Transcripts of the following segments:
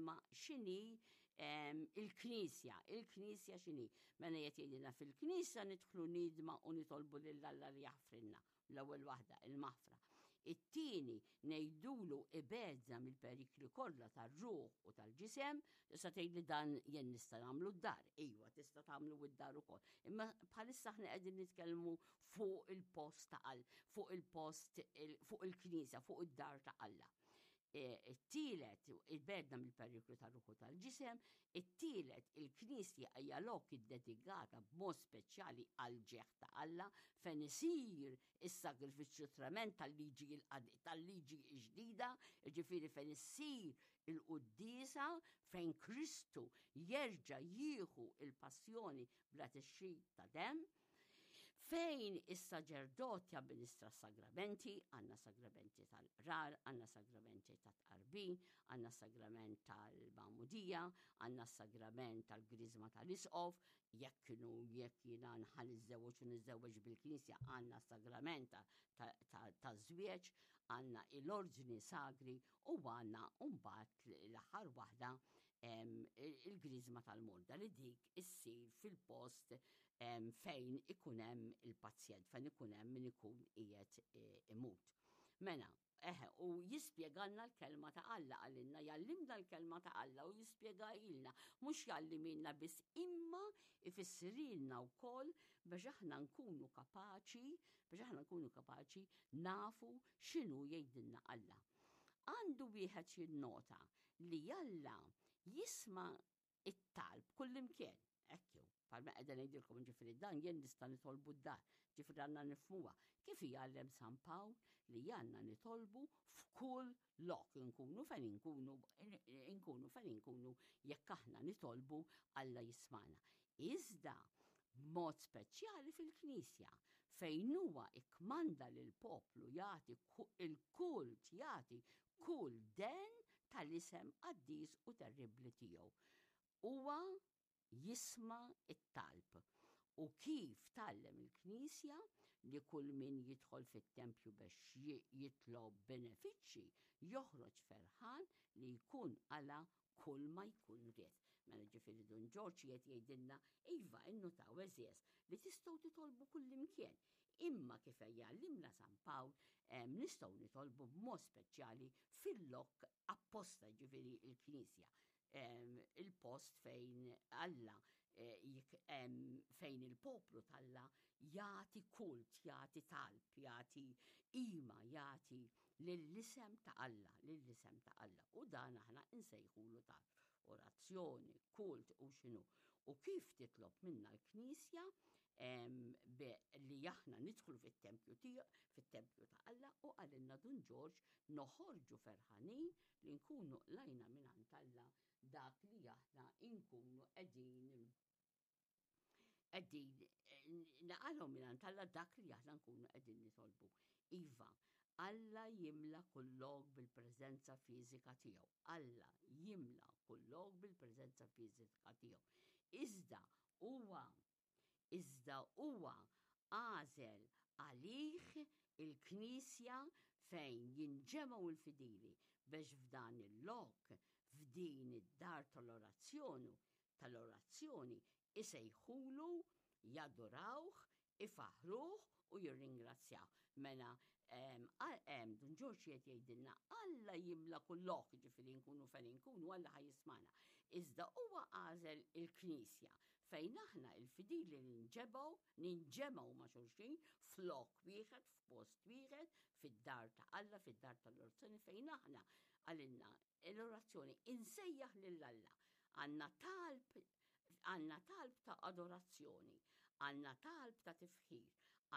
il-kelma x'inhi il-Knisja, il-Knisja x'inhi. Mela qed jgħidilna fil-Knisja nidħlu nidma u nitolbu lil Alla li jaħfrilna. L-ewwel waħda, il-maħfra. It-tieni ngħidulu ibedna mill-perikli kollha tar-ruħ u tal-ġisem, tista' tgħid li dan jien nista' nagħmlu d-dar. Iva, tista' tagħmlu d-dar ukoll. Imma bħalissa aħna qegħdin nitkellmu fuq il-post ta' Alla, fuq il-post, fuq il-knisja, fuq id-dar ta' Alla. E, it-tielet, ibedna mill-periklu tar-ruħu tal-ġisem, it-tielet, il-Knisja hija lok iddedikata b'mod speċjali għal ġeħ ta' Alla fejn isir is-sagrifiċċju trement tal-liġi tal-liġi ġdida, ġifieri fejn issir il-quddiesa fejn Kristu jerġa' jieħu il-passjoni bla tixrid ta' demm. Fejn is-saġerdot jamministra s-sagramenti, għandna sagramenti tal-qrar, għandna sagramenti tat-tqarbin, għandna sagrament tal-magħmudija, għandna sagrament tal-griżma tal-isqof, jekk kienu jekk jiena nħa niżżewweġ u niżżewweġ bil-knisja għandna sagrament taż-żwieġ, għandna l-ordni sagri u għandna mbagħad l-aħħar waħda il-griżma tal-morda li dik issir fil-post fejn ikun hemm il-pazjent, fejn ikun hemm min ikun qiegħed e, imut. Mela, eħe, u jispjegalna l-kelma ta' Alla għalinna, jallimna l-kelma ta' Alla u jispjegalna, mhux jallimilna biss imma ifissrilna wkoll biex aħna nkunu kapaċi, biex aħna nkunu kapaċi nafu x'inhu jgħidilna Alla. Għandu wieħed jinnota li Alla jisma' it-talb kullimkien. Hekk jew, palma qiegħda ngħidilkom ġifieri dan jien nista' nitolbu d-dar, ġifieri għandna nifhmuha. Kif jgħallem San Pawl li għandna nitolbu f'kull lok inkunu fejn inkunu inkunu fejn inkunu jekk aħna nitolbu Alla jismana. Iżda b'mod speċjali fil-Knisja fejn huwa ikkmanda lil poplu jagħti il-kult jagħti kull den tal-isem qaddis u terribbli tiegħu. Huwa jisma' t-talb u kif tgħallem il-Knisja li kull min jidħol fit-tempju bex jitlob benefiċċji joħroġ ferħan li jkun qala' kull ma jkun ried. Mela ġifieri Dun Ġorġ qiegħed jgħidilna iva innutaw għeżież li tistgħu titolbu kullimkien Imma kif jgħallimna San Pawl, nistgħu nitolbu b'mod speċjali fil-lok apposta ġifieri il-Knisja il-post fejn Alla eh, fejn il-poplu t'Alla jagħti kult, jagħti talb, jagħti ima, jagħti lill-isem ta' Alla, lill-isem ta' Alla. U dan aħna insejħulu talb, orazzjoni, kult u x'inhu. U kif titlob minna l-Knisja li aħna nidħlu fit-tempju tiegħu, fit-tempju ta' Alla u qalilna Dun Ġorġ noħorġu ferħanin li nkunu qlajna mingħand Alla dak li aħna nkunu qegħdin qegħdin naqalgħu mingħand Alla dak li aħna nkunu qegħdin nitolbu. Iva, Alla jimla kull lok bil-preżenza fiżika tiegħu. Alla jimla kull lok bil-preżenza fiżika tiegħu. Iżda huwa Iżda huwa għażel għalih il-Knisja fejn jinġemgħu l-fidili biex f'dan il-lok, f'din id-dar tal-orazzjonu, tal-orazzjoni, isejħulu, jadurawh, ifaħħruh u jirringrazzjawh. Mela, Dun Ġorġ qiegħed jgħidilna Alla jimla kull lok, ġifieri nkunu fejn inkunu Alla ħa jismagħna. Iżda huwa għażel il-Knisja fejn aħna il-fidili ninġebgħu, ninġemgħu ma' xulxin f'lok wieħed, f'post wieħed, fid-dar ta' Alla, fid-dar tal-orazzjoni fejn aħna għalilna l-orazzjoni insejjaħ lil Alla. Għandna talb għandna talb ta' adorazzjoni, għandna talb ta' tifħir,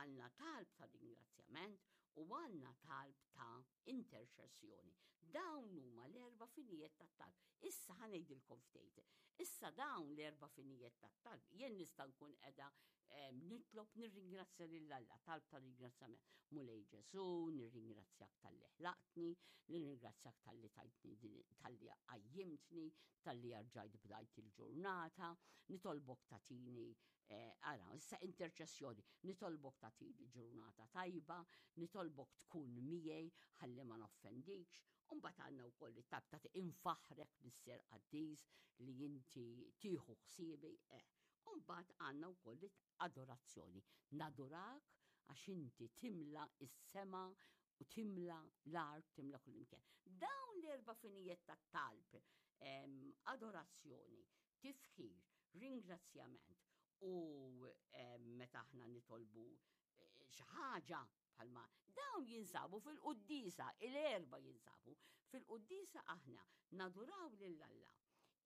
għandna talb ta' ringrazzjament u għandna talb ta' interċessjoni. Dawn huma l-erba' finijiet tat-talb. Issa ħa ngħidilkom ftit. Issa dawn l-erba' finijiet tat-talb jien nista' nkun qiegħda nitlob nirringrazzja lil Alla, talb ta' ringrazzjament. Mulej Ġesu, nirringrazzjak talli ħlaqtni, nirringrazzjak talli tajtni talli għajjitni. qajjimtni, talli erġajt bdajt il-ġurnata, nitolbok tagħtini eh, ara, issa interċessjoni, nitolbok tagħtini ġurnata tajba, nitolbok tkun miegħi ħalli ma noffendikx, u mbagħad għandna wkoll it-talb ta' infaħrek Missier qaddis li inti tieħu ħsiebi, eh. U mbagħad għandna wkoll adorazzjoni. Nadurak għax inti timla is-sema u timla l-art, timla kullimkien. Dawn l-erba' finijiet tat-talb, adorazzjoni, tifħir, ringrazzjament u meta aħna nitolbu eh, xi ħaġa bħalma dawn jinsabu fil-quddisa, il-erba jinsabu fil-quddisa aħna naduraw lil Alla.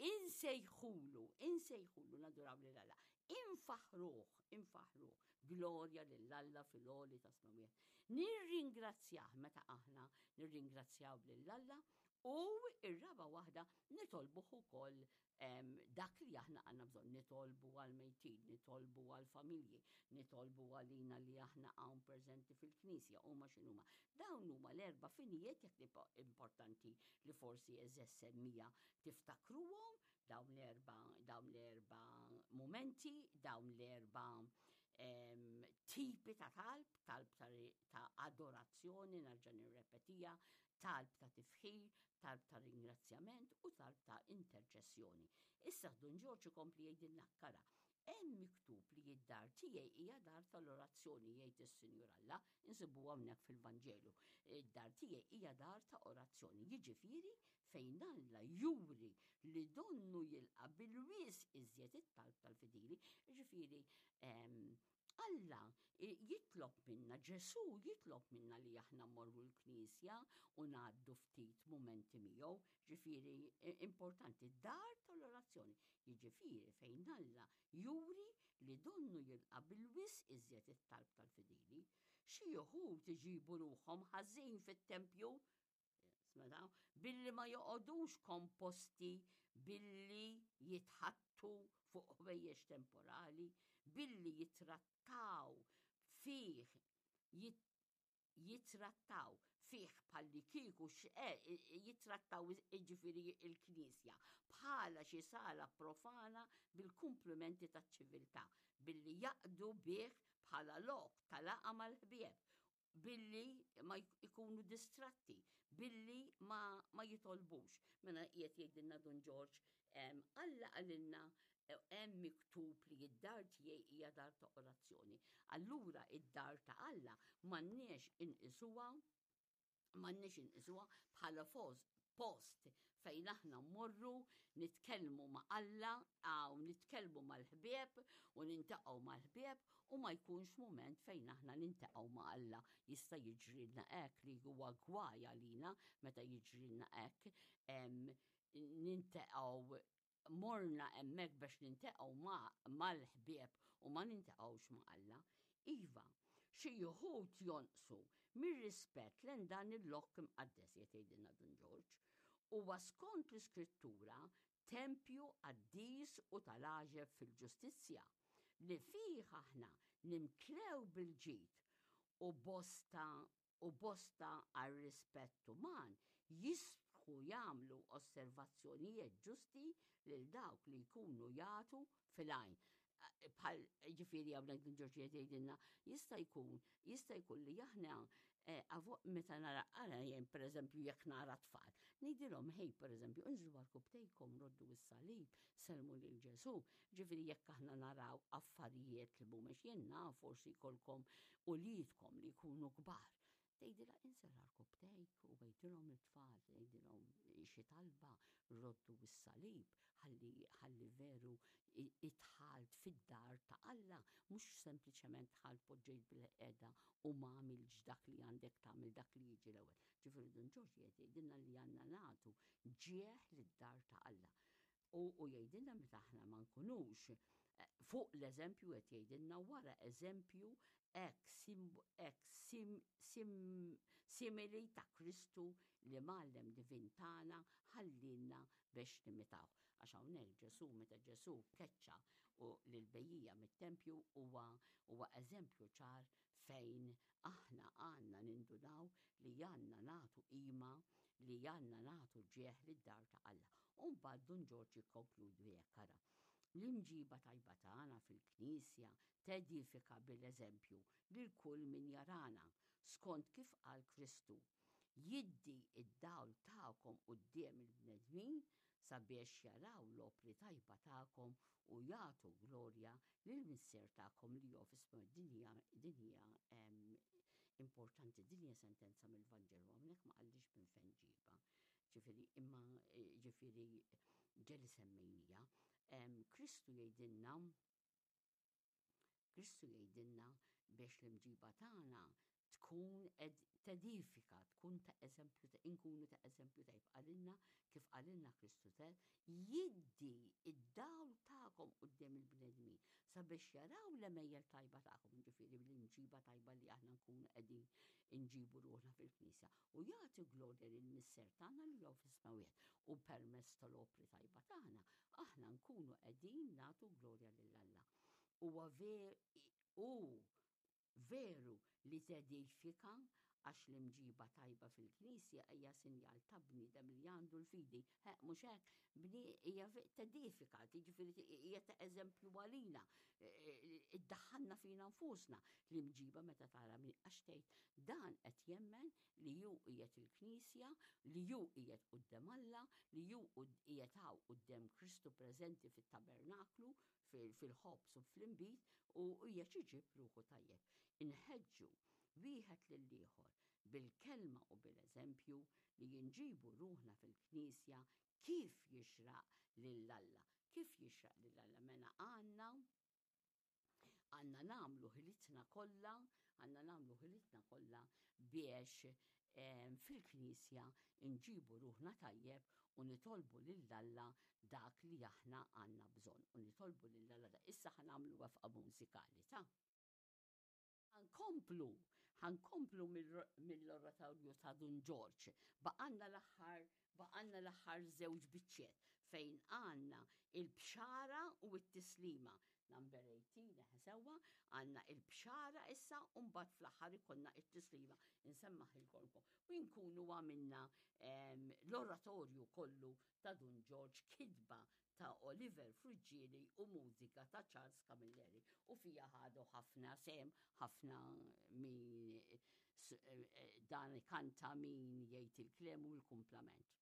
Insejħulu, insejħulu naduraw lil Alla. Infaħruh, infaħruh, glorja lil Alla fil-għoli ta' smawiet. Nirringrazzjah meta aħna nirringrazzjaw lil Alla u ir-raba waħda nitolbuh ukoll dak li aħna għandna bżonn nitolbu għal mejtin, nitolbu għal familji, nitolbu għalina li aħna hawn preżenti fil-Knisja huma x'inhuma. Dawn huma l-erba' finijiet jekk importanti li forsi eżess semmija tiftakruhom dawn l-erba' dawn l-erba' momenti, dawn l-erba' tipi ta' talb, talb ta' adorazzjoni, nerġa' nirrepetija, talb ta' tifħir, talb ta' ringrazzjament u talb ta' interċessjoni. Issa Dun Ġorġ ikompli jgħidilna kara, hemm miktub li d-dar tiegħi hija dar tal-orazzjoni jgħid is-Sinjur Alla, insibuha hawnhekk fil-Vanġelu. Id-dar tiegħi hija dar ta' orazzjoni, jiġifieri fejn Alla juri li donnu jilqa' bil-wisq iżjed it-talb tal-fidili, jiġifieri Alla jitlob minna, Ġesù jitlob minna li aħna mmorru l-knisja u ngħaddu ftit mumenti miegħu, ġifieri importanti dar tal-orazzjoni, jiġifieri fejn Alla juri li donnu jilqa' bil-wisq iżjed it-talb tal-fidili. Xi wħud iġibu ruħhom ħażin fit-tempju, smetaw, billi ma joqogħdux komposti billi jitħattu fuq ħwejjeġ temporali, billi jitrattaw fih jitrattaw fih bħalli kieku eh, jitrattaw jiġifieri il-Knisja bħala xi sala profana bil-kumplimenti taċ-ċiviltà, billi jaqdu bih bħala lok ta' laqgħa mal-ħbieb billi ma jkunu distratti, billi ma, ma jitolbux. Mela qiegħed jgħidilna Dun Ġorġ, Alla qalilna eh, hemm miktub li d-dar tiegħi hija dar ta' orazzjoni. Allura id-dar ta' Alla m'għandniex inqisuha m'għandniex inqisuha bħala post fejn aħna mmorru nitkellmu ma' Alla għaw nitkellmu mal-ħbieb u nintaqgħu mal-ħbieb u ma jkunx mument fejn aħna nintaqgħu ma' Alla. Jista' jiġrilna hekk li huwa gwaj għalina meta jiġrilna hekk nintaqgħu morna hemmhekk biex nintaqgħu mal-ħbieb u ma nintaqgħux ma' Alla. Iva, xi wħud jonqsu mir-rispett lejn dan il-lok imqaddes qed jgħidilna Dun Ġorġ. Huwa skont l-Iskrittura tempju qaddis u tal-għaġeb fil-ġustizzja, li fih aħna nimtlew bil-ġid u bosta u bosta għar-rispett uman jistħu jagħmlu osservazzjonijiet ġusti lil dawk li jkunu jagħtu fil-għajn. Bħal ġifieri hawnhekk Dun Ġorġ qed jgħidilna jista' jkun jista' jkun li aħna eh, meta nara ara jien pereżempju jekk nara tfal, ngħidilhom ħej pereżempju inżlu għal roddu s-salib, sellmu lil Ġesù. Ġifieri jekk aħna naraw affarijiet li mhumiex jien naf forsi jkollkom uliedkom li jkunu kbar. Tgħidilha inżel għarkupptejk u għidilhom it-tfal, tgħidilhom xi talba, roddu s-salib, ħalli ħalli veru idħalt fid-dar ta' Alla, mhux sempliċement dħalt poġġejt bil-qiegħda u ma għamiltx dak li għandek tagħmel dak li jiġi l-ewwel. Ġifieri Dun Ġorġ qiegħed jgħidilna li għandna nagħtu ġieħ lid-dar ta' Alla. U u jgħidilna meta aħna ma nkunux eh, fuq l-eżempju qed jgħidilna wara eżempju hekk sim, sim, simili ta' Kristu li mgħallem divin tagħna ħallilna biex nimitawh. Għax hawnhekk Ġesù meta Ġesù keċċa u lill-bejjija mit-tempju huwa huwa eżempju ċar fejn aħna għandna nindunaw li għandna nagħtu qima li għandna nagħtu ġieħ lid-dar ta' Alla. mbagħad Dun Ġorġ jikkonkludi hekk ara. L-imġiba tajba tagħna fil-Knisja tedifika bil-eżempju lil kull min jarana, skont kif qal Kristu, Jiddi d-dawl tagħkom quddiem il-bnedmin sabiex jaraw l-opri tajba tagħkom u jagħtu glorja lill-Missier tagħkom li hu fis-smewwiet. Din hija din hija importanti, din hija sentenza mill-Vanġelu, hawnhekk ma qallix minn fejn ġiebha. Ġifieri imma ġifieri ġeli semmejnija. Kristu jgħidilna Kristu jgħidilna biex l-imġiba tagħna tkun tedifika, tkun ta' eżempju, inkunu ta' eżempju tajb qalilna kif qalilna Kristu te, jiddi id-dawl tagħkom quddiem il-bnedmin sabiex jaraw l-għemejjel tajba tagħkom, ġifieri l-imġiba tajba li aħna nkunu qegħdin inġibu ruħna fil-Knisja u jagħti glorja lill-Missier tagħna li hu fis-smewwiet u permezz tal-opri tajba tagħna aħna nkunu qegħdin nagħtu glorja lil Alla. Huwa hu veru li tedifika għax l-imġiba tajba fil-Knisja hija sinjal ta' bniedem li għandu l-fidi. Mhux hekk, hija tedifika, jiġifieri hija ta' eżempju għalina, iddaħħalna fina nfusna l-imġiba meta tara min għax tgħid dan qed jemmen li hu qiegħed il-Knisja, li hu qiegħed quddiem Alla, li hu qiegħed hawn quddiem Kristu preżenti fit-tabernaklu, fil-ħobż u fl-inbid u qiegħed iġib ruħu tajjeb. Inħeġġu wieħed lill-ieħor bil-kelma u bil-eżempju li inġibu ruħna fil-Knisja kif jixraq lil Alla. Kif jixraq lil Alla mela għandna għandna nagħmlu ħilitna kollha, għandna nagħmlu ħilitna kollha biex fil-Knisja nġibu ruħna tajjeb u nitolbu lil Alla dak li aħna għandna bżonn u nitolbu lil Alla da. Issa ħa nagħmlu wefqa mużikali ta'. Ħankomplu, ħankomplu mill-oratorju ta' Dun Ġorġ. Baqanna l-aħħar, baqanna l-aħħar żewġ biċċiet fejn għandna il-bxara u t-tislima. Number 18, eħe sewwa, għandna il-bxara issa u mbagħad fl-aħħar ikollna it-tislima. Insemmaħilkom u nkunu għamilna l-oratorju kollu ta' Dun Ġorġ kitba ta' Oliver Friggieri u mużika ta' Charles Camilleri u fija ħadu ħafna sehem ħafna min dan ikanta min jgħid il-kliem u l-kumplament.